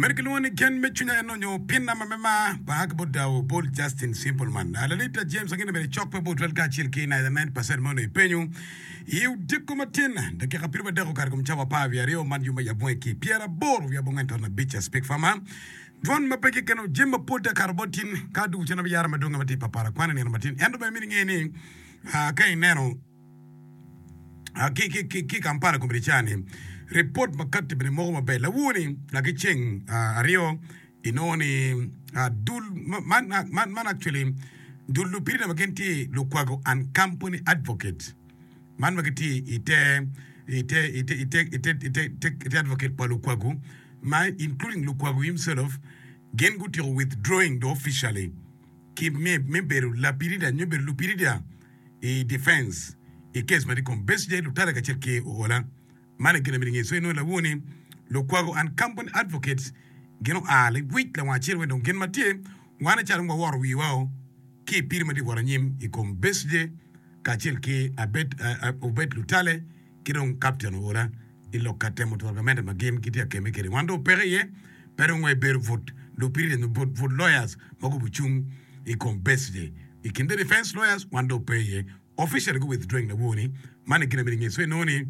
Mere kilwongo ni gen me cwinya en onyo pinna ma me mar banga ki bot dawo bol Justin Simpleman. Lalita James angene bene cok pe bot twel kacel ki 99% ma onongo ipenyo i odiko matin dakika piro madek okato kom cawa 12 man yo me yabunge ki 89 Speak Farmer Dwon ma pe kikeno jami mapol te kato bot tin ka adugu cen abiyaro madonge ma tye i papara kwan i nino matin ento bene myero inge ni ka ineno ki i Kampala kombeddi ca-ni, ripot ma katti bene moko maber. Lawor-ni laki ceng aryo inongo ni dul man actually dul lupirida ma gin tye Lukwago and Company Advocate man ma gitye i te i te i te i te i te i te advocate pa Lukwago ma including Lukwago himself gin gutyeko withdrawing do officially ki me bedo lapirida nyo bedo lupirida i defense i case ma tye i kom Besigye, Lutale kacel ki Oola. Man aye gin ma myero inge. So inongo lawor ni Lukwago and Company Advocates gin oa liwic lawang acel wek dong gin ma tye wan acalo waworo wiwa o ki i piri ma tye ka wot anyim i kom Besigye kacel ki Abed Obed Lutale ki dong Captain Oola i lok ka temo twero gamente ma gin gitye ka kemme kwede. Wan dong opeke iye pe dong wa ibedo but lupirida nyo but but lawyers ma gubu cung i kom Besigye. I kin the defense lawyers wan dong ope iye. Officially gu withdrawing lawor ni man i gin amyero inge. So inongo ni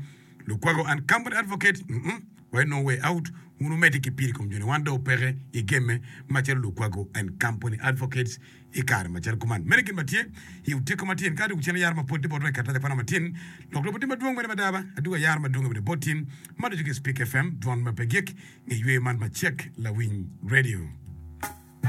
Lukwago and company advocate mm wa inongo way out wun wumedde ki piri i kom joni wan dong opeke i gemme macalo Lukwago and company advocates I kare macalo kuman, meno gin ma tye i odiko matin. Ka adwogo cen ayaro mapol tye botwa i karatac akwana matin. Lok lobo tye madwong mene mada ba, adwogo ayaro madwonge bene bot tin. Ma ducu ki Speak FM, dwon ma pe gik, nge yweyo man macek lawiny radio.